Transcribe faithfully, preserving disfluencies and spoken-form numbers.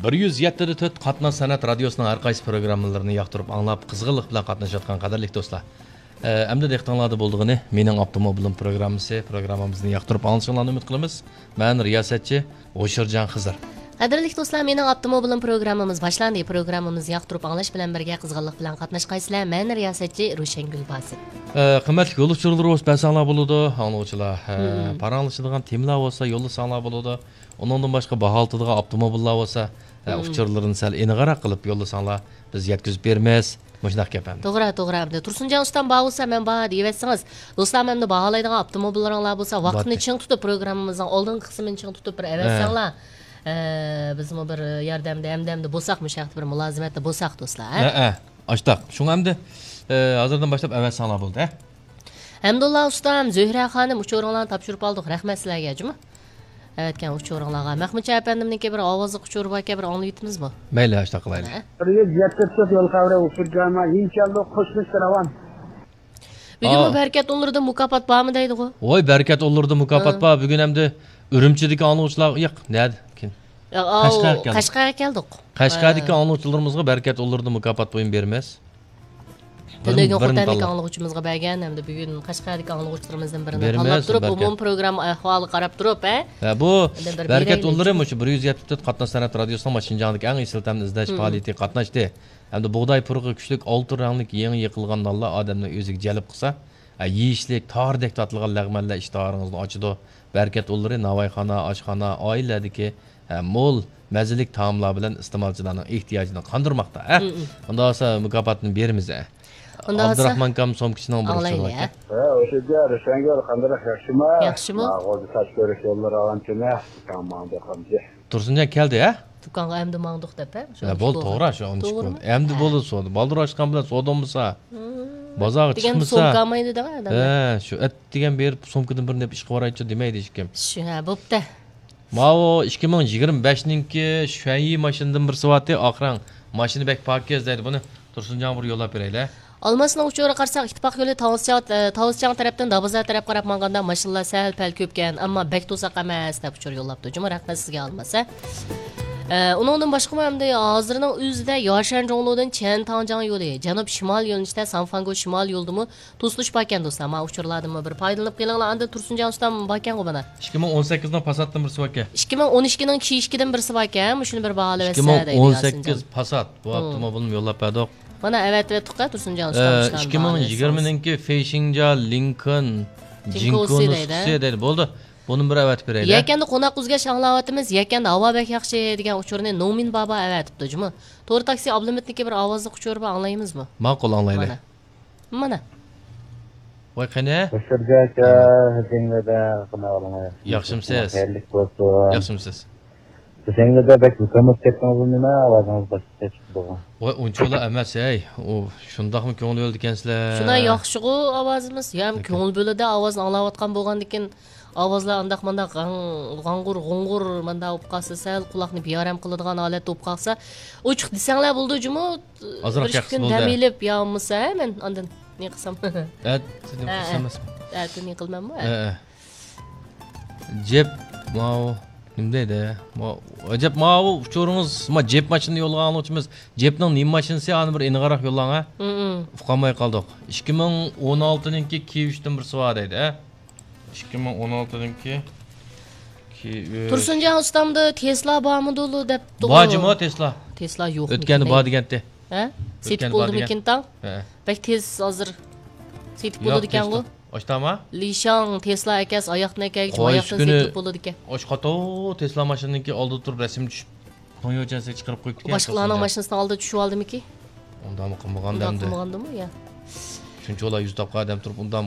بىر يۈز يەتتە دە تۆت قاتناش سەنئەت رادىيوسىنىڭ ھەر قايسى پروگراممىلىرىنى ياقتۇرۇپ ئاڭلاپ، قىزغىنلىق بىلەن قاتنىشىۋاتقان قەدىرلىك دوستلار. ئە، ئەمدى دىققىتىڭلاردا بولىدىغىنى مېنىڭ ئاپتوموبىلىم پروگراممىسى، پروگراممىمىزنى ياقتۇرۇپ ئاڭلىشىڭلارنى ئۈمىد قىلىمىز. مەن رىياسەتچى ھوشۇرجان خىزىر. قەدىرلىك دوستلار، مېنىڭ ئاپتوموبىلىم پروگراممىمىز باشلاندى. پروگراممىمىزنى ياقتۇرۇپ ئاڭلاش بىلەن بىرگە قىزغىنلىق بىلەن قاتناشقايسىلەر. مەن رىياسەتچى روشەنگۈل باسىت. ئە، قىممەتلىك يول ئۇچۇرلىرى بولسا بەرسەڭلار بولىدۇ، ئاڭلىغۇچىلار. ئە، مم. پاراڭلىشىدىغان تېمىلار بولسا يوللىساڭلار بولىدۇ. ئۇنىڭدىن باشقا باھا ئالىدىغان ئاپتوموبىللار بولسا، ئە، مم. ئۇچۇرلىرىنى سەل ئېنىقراق قىلىپ يوللىساڭلار، بىز يەتكۈزۈپ بېرىمىز. مۇشۇنداق گەپ ئەمدى. توغرا، توغرا. ئەمدى تۇرسۇنجان ئۇستام بار بولسا، مەن بار دېيىۋەتسىڭىز، دوستلار، ئەمدى باھالايدىغان ئاپتوموبىللىرىڭلار بولسا، ۋاقىتنى باتتى. چىڭ تۇتۇپ، پروگراممىمىزنىڭ ئالدىنقى قىسمىنى چىڭ تۇتۇپ بىر ھە. ئەۋەتسەڭلار، ئە، بىزمۇ بىر ياردەمدە، ھەمدەمدە بولساق، مۇشۇ ھەقتە بىر مۇلازىمەتتە بولساق، دوستلار، ھە؟ ھە، ھە. ئاشتاق. شۇڭا ئەمدى، ئە، ھازىردىن باشلاپ ئەۋەتسەڭلار بولدى، ھە؟ ھەمدۇللا ئۇستام، زۆھرە خانىم، ئۇچۇرۇڭلارنى تاپشۇرۇپ ئالدۇق. رەھمەت سىلەرگە، جۇمۇ. ئەۋەتكەن ئۇچۇرۇڭلارغا. مەخمۇتجان ئەپەندىمنىڭكى بىر ئاۋازلىق ئۇچۇرى باركەن، بىر ئاڭلىۋېتىمىزمۇ؟ مەيلى، ئاشتاق قىلايلى. ھە؟ بىر يۈز يەتتە تۆت يول خەۋىرى ئۇچۇر جايىما يېڭىچەلدۇق قوشمىسى راۋان. بۈگۈنمۇ ئاۋۇ. بەرىكەت ئۇللىرىدىن مۇكاپات بارمۇ دەيدىغۇ؟ ۋوي، بەرىكەت ئۇللىرىدا مۇكاپات ھە. بار. بۈگۈن ئەمدى ئۈرۈمچىدىكى ئاڭلىغۇچىلار، ياق، نەدە؟ ياق، ئاۋۇ، قەشقەرگە كەلدۇق. قەشقەرگە كەلدۇق. قەشقەردىكى ھە. ئاڭلىغۇچىلىرىمىزغا بەرىكەت ئۇللىرىدا مۇكاپات بۇيۇم بېرىمىز. تۈنۈگۈن بىرىنى، بىرىنى خوتەندىكى تاللاپ. ئاڭلىغۇچىمىزغا بەرگەن ھەمدە بۈگۈن قەشقەردىكى ئاڭلىغۇچىلىرىمىزدىن بىرىنى بېرىمىز، تاللاپ تۇرۇپ، بەرىكەت. ئومۇمىي پروگرامما ئەھۋالىغا قاراپ تۇرۇپ، ھە؟ ھە، بۇ ئەمدى بىر بەرىكەت بېرەيلى ئۇللىرى شۇ. مۇشۇ بىر يۈز يەتتە تۆت قاتناش سەنئەت رادىيوسىنىڭ مۇشۇ شىنجاڭدىكى ئەڭ ئېسىل تەملىك ئىزدەش مم. پائالىيىتىگە قاتناشتى. ھەمدە بۇغداي پۇرىقى كۈچلۈك ئالتۇن رەڭلىك يېڭى يېقىلغان نانلار ئادەمنى ئۆزىگە جەلپ قىلسا، ھە، يېيىشلىك تاردەك تاتىلىغان لەغمەنلەر ئىشتىھالىڭىزنى ئاچىدۇ. بەرىكەت ئۇللىرى ناۋايخانا، ئاشخانا، ئائىلىلەردىكى ھە، مول مەززىلىك تائاملار بىلەن ئىستېمالچىلارنىڭ ئېھتىياجىنى قاندۇرماقتا، ھە؟ مم، مم. ئۇنداق بولسا مۇكاپاتنى بېرىمىز، ھە. ئۇنداق بولسا ئابدۇراخمان ئاكام سومكىچىنىڭ بىر ئاڭلايلى، ئۇچۇرى بار ھە؟ ئىكەن. ھە، ئۆشۈگە، رىشەنگۈل، قانداق ياخشىمۇ؟ ياخشىمۇ؟ ماغۇزى تاش كۆرۈش يوللىرى ئاغان تۈنە. تامام دېقانجى. تۇرسۇنجان كەلدى، ھە؟ دۇكانغا ئەمدى ماڭدۇق دەپ، ھە؟ ھە، بولدى، توغرا، شۇ ئون ئىككى كۈن. توغرىمۇ؟ ئەمدى ھە. بولدى، سودا. بالدۇر ئاچقان بىلەن سودىمۇسا، مم. بازارغا دېگەن چىقمىسا. سومكا ئالمايدۇ دەڭە ئادەملەر. ھە، شۇ ئەتىگەن بېرىپ سومكىدىن بىرنى ئېلىپ ئىشقا بارايچۇ دېمەيدۇ ھېچكىم. شۇ، ھە، بوپتۇ. ماۋۇ ئىككى مىڭ يىگىرمە بەشنىڭكى شۈەنيى ماشىنىدىن بىرسى بارتى، ئاق رەڭ. ماشىنا بەك پاكىز دەيدۇ، بۇنى تۇرسۇنجانغا بىر يوللاپ بېرەيلى. ئالماسنىڭ ئۇچۇرىغا قارىساق، ئىتتىپاق يولى تاۋۇزچاڭ، ئە، تاۋۇزچاڭ تەرەپتىن دابازار تەرەپ قاراپ ماڭغاندا ماشىنىلار سەل-پەل كۆپكەن، ئەمما بەك توساق ئەمەس، دەپ ئۇچۇر يوللاپتۇ. جۇمۇ رەھمەت سىزگە ئالماس، ھە. ئە، ئۇنىڭدىن باشقىمۇ ئەمدى ھازىرنىڭ ئۆزىدە ياشەن جۇڭلۇدىن چيەن تاڭجياڭ يولى، جەنۇب شىمال يۆنىلىشتە سانفاڭگو شىمال يولىدىمۇ توسۇلۇش باركەن دوستلار، مانا ئۇچۇرلاردىنمۇ بىر پايدىلىنىپ قېلىڭلار. ئاندىن تۇرسۇنجان ئۇستام باركەنغۇ مانا. ئىككى مىڭ ئون سەككىزنىڭ پاساتتىن بىرسى باركەن. ئىككى مىڭ ئون ئىككىنىڭ كىي ئىككىدىن بىرسى باركەن، مۇشۇنى بىر باھالىۋەتسە دەيدۇ ياسىنجان. ئىككى مىڭ ئون سەككىز پاسات. بۇ مم. ئاپتوموبىلنى يوللاپ بەردۇق. مانا ئەۋەتىۋەتتۇق-ە تۇرسۇنجان ئۇستام ئە، مۇشۇلارنى ئىككى مىڭ يىگىرمىنىڭكى فېيشىڭجيا لىنكولن جىنكو نۇسخىسى دەيدۇ. بۇنى بىر ئەۋەتىپ بېرەيلى. يەكەندە قوناق ئۈزگەچ ئاڭلاۋاتىمىز. يەكەندە ھاۋا بەك ياخشى دېگەن ئۇچۇرنى نومىن بابا ئەۋەتىپتۇ جۇمۇ. تور تاكسى ئابلىمىتنىڭكى بىر ئاۋازلىق ئۇچۇرى بار، ئاڭلايمىزمۇ؟ ماقۇل، ئاڭلايلى. مانا. مانا. ۋاي، قېنى؟ بەشىرگە ئاكا، ھېسەنگۈلدە قانداق ئەھۋالىڭىز؟ ياخشىمۇسىز؟ خەيرلىك بولسۇن. ياخشىمۇسىز؟ ھېسەنگۈلدە بەك يۇقىرىلىپ كەتتىڭىزمۇ نېمە؟ ئاۋازىڭىز باشقىچە چىقىدىغۇ. ۋاي، ئۇنچىۋالا ئەمەس، ھەي. ئۇ شۇنداقمۇ كۆڭۈل بۆلىدىكەنسىلەر؟ شۇنداق ياخشىغۇ ئاۋازىمىز. يا، كۆڭۈل بۆلىدە ئاۋازنى ئاڭلاۋاتقان بولغاندىكىن، ئاۋازلار ئانداق مانداق غاڭ-، غاڭغۇر-غۇڭغۇر مانداق بولۇپ قالسا، سەل قۇلاقنى بىئارام قىلىدىغان ھالەتتە بولۇپ قالسا، ئوچۇق دېسەڭلار بولىدۇ جۇمۇ. ئازراق بىر ئىككى كۈن دەم ئېلىپ يا بولمىسا، ھە، مەن ئاندىن نېمە قىلسام. ئەتە نېمە قىلسام ئەمەسمۇ؟ ئەتە نېمە قىلىمەنمۇ؟ ھە. جېپ، ماۋۇ، نېمە دەيدۇ؟ ماۋۇ، ئەجەب، ماۋۇ ئۇچۇرىڭىز، ما، جېپ ماشىنا يوللىغان ئاڭلىغۇچىمىز. جېپنىڭ نېمە ماشىنىسى؟ ئانى بىر ئېنىقراق يوللاڭ، ھە؟ مم. ئۇقالماي قالدۇق. ئىككى مىڭ ئون ئالتىنىڭكى كىي ئۈچتىن بىرسى بار دەيدۇ، ھە؟ ئىككى مىڭ ئون ئالتىنىڭكى كىي ئۈچ. تۇرسۇنجان ئۇستامدا تېسلا بارمىدۇ دەپتۇ. بار جۇمۇ تېسلا. تېسلا يوقمىكىن؟ ئۆتكەندە بار دېگەنتى. ھە؟ سېتىپ بولدىمىكىن تاڭ؟ ھە. بەك تېز ھازىر سېتىپ بولىدىكەنغۇ. ئاشتاما؟ لىشاڭ تېسلا ئەكەس، ئاياقتىن ئەكەلگۈچ، ئاياقتىن سېتىپ بولىدىكەن. ئاشقاتو تېسلا ماشىنىنىڭكى ئالدىدا تۇرۇپ رەسىم چۈشۈپ، توڭيوچەنسى چىقىرىپ قويۇپتىكەن. باشقىلارنىڭ ماشىنىسىنىڭ ئالدىدا چۈشۈۋالدىمىكى؟ ئۇنداقمۇ قىلمىغاندا ئۇنداق ئەمدى. قىلمىغاندىمۇ يا؟ شۇنچىۋالا يۈز تاپقان ئادەم تۇرۇپ ئۇنداق